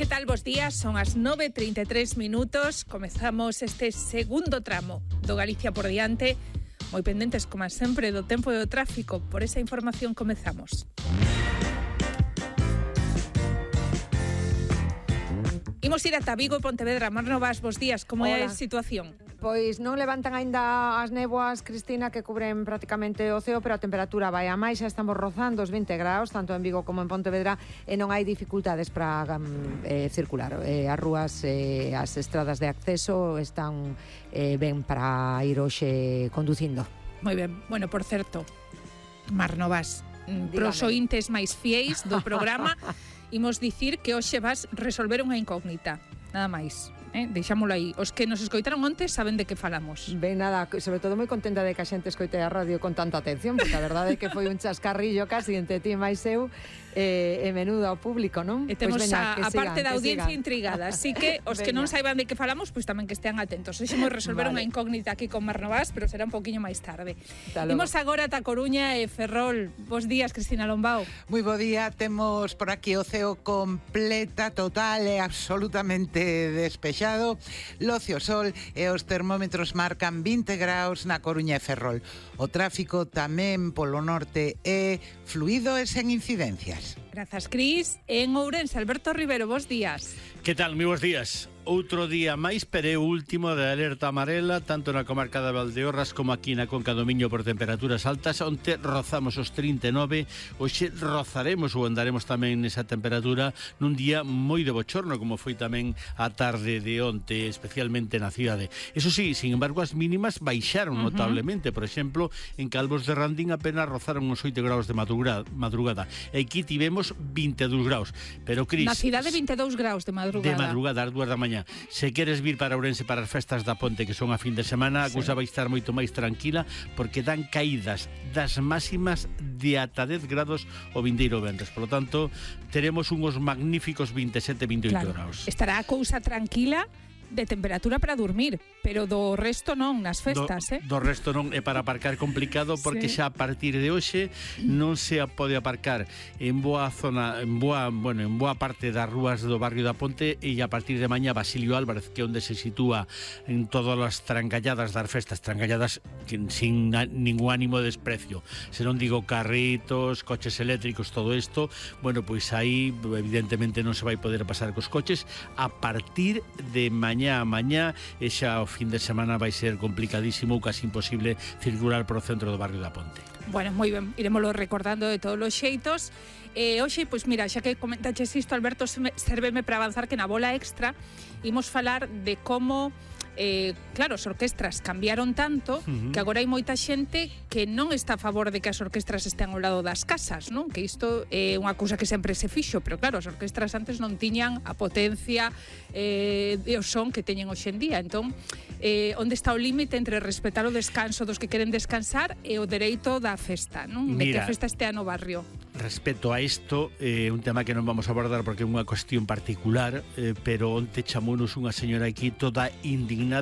Que tal, bos días? Son as 9:33 minutos. Comezamos este segundo tramo do Galicia por diante. Moi pendentes, como sempre, do tempo e do tráfico. Por esa información comezamos. Imos ir ata Vigo e Pontevedra. Mar Novas, bos días. Como é a situación? Pois non levantan aínda as néboas, Cristina, que cubren prácticamente o ceo, pero a temperatura vai a máis, xa estamos rozando os 20 graus, tanto en Vigo como en Pontevedra, e non hai dificultades para circular. As rúas, as estradas de acceso están ben para ir hoxe conducindo. Moi ben. Bueno, por certo, Mar Novas, pros ointes máis fieis do programa, imos dicir que hoxe vas resolver unha incógnita, nada máis. Deixámoslo aí. Os que nos escoitaron onte saben de que falamos. Ben, nada, sobre todo moi contenta de que a xente escoite a radio con tanta atención, porque a verdade é que foi un chascarrillo casi entre ti e máis eu, e menudo ao público, non? E temos pues veña, a parte da audiencia intrigada, así que os que non saiban de que falamos, pois tamén que estean atentos. Hoxe imos resolver unha incógnita aquí con Mar Novas, pero será un poquinho máis tarde. Imos agora ata Coruña e Ferrol. Bos días, Cristina Lombao. Moi bo día, temos por aquí o ceo completa, total e absolutamente despexado. Locio sol e os termómetros marcan 20 graus na Coruña e Ferrol. O tráfico tamén polo norte é fluido e sen incidencias. Grazas, Cris. En Ourense, Alberto Rivero, bos días. Que tal? Moi bos días. Outro día máis, pero é o último de alerta amarela, tanto na comarca de Valdeorras como aquí na Conca do Miño por temperaturas altas. Onte rozamos os 39, hoxe rozaremos ou andaremos tamén nesa temperatura nun día moi de bochorno, como foi tamén a tarde de onte, especialmente na cidade. Eso sí, sin embargo, as mínimas baixaron notablemente. Por exemplo, en Calvos de Randín apenas rozaron os 8 graus de madrugada. E aquí tivemos 22 graus. Pero, Cris... Na cidade 22 graus de madrugada. De madrugada, ás 2 da mañá. Se queres vir para Ourense para as festas da Ponte, que son a fin de semana, a cousa vai estar moito máis tranquila, porque dan caídas das máximas de ata 10 grados o vindeiro venres. Por lo tanto, teremos unhos magníficos 27-28 graus. Estará a cousa tranquila de temperatura para dormir, pero do resto non nas festas, do resto non, é para aparcar complicado, porque xa a partir de hoxe non se pode aparcar en boa zona, en boa parte das rúas do barrio da Ponte, e a partir de mañá Basilio Álvarez, que é onde se sitúa en todas as trancalladas das festas, trancalladas sin ningún ánimo de desprecio, se non digo carritos, coches eléctricos, todo isto, bueno, pois aí evidentemente non se vai poder pasar cos coches a partir de mañá e xa o fin de semana vai ser complicadísimo ou casi imposible circular por o centro do barrio da Ponte. Bueno, moi ben, iremoslo recordando de todos os xeitos. Hoxe, pois mira, xa que comentaches isto, Alberto, sérveme para avanzar que na bola extra imos falar de como claro, as orquestras cambiaron tanto que agora hai moita xente que non está a favor de que as orquestras estean ao lado das casas, non? Que isto é unha cousa que sempre se fixo, pero claro, as orquestras antes non tiñan a potencia e o son que teñen hoxe en día. Entón, onde está o límite entre respetar o descanso dos que queren descansar e o dereito da festa, non? De que a festa estea no barrio. Respecto a isto, un tema que non vamos a abordar porque é unha cuestión particular, pero onte chamounos unha señora aquí toda indignada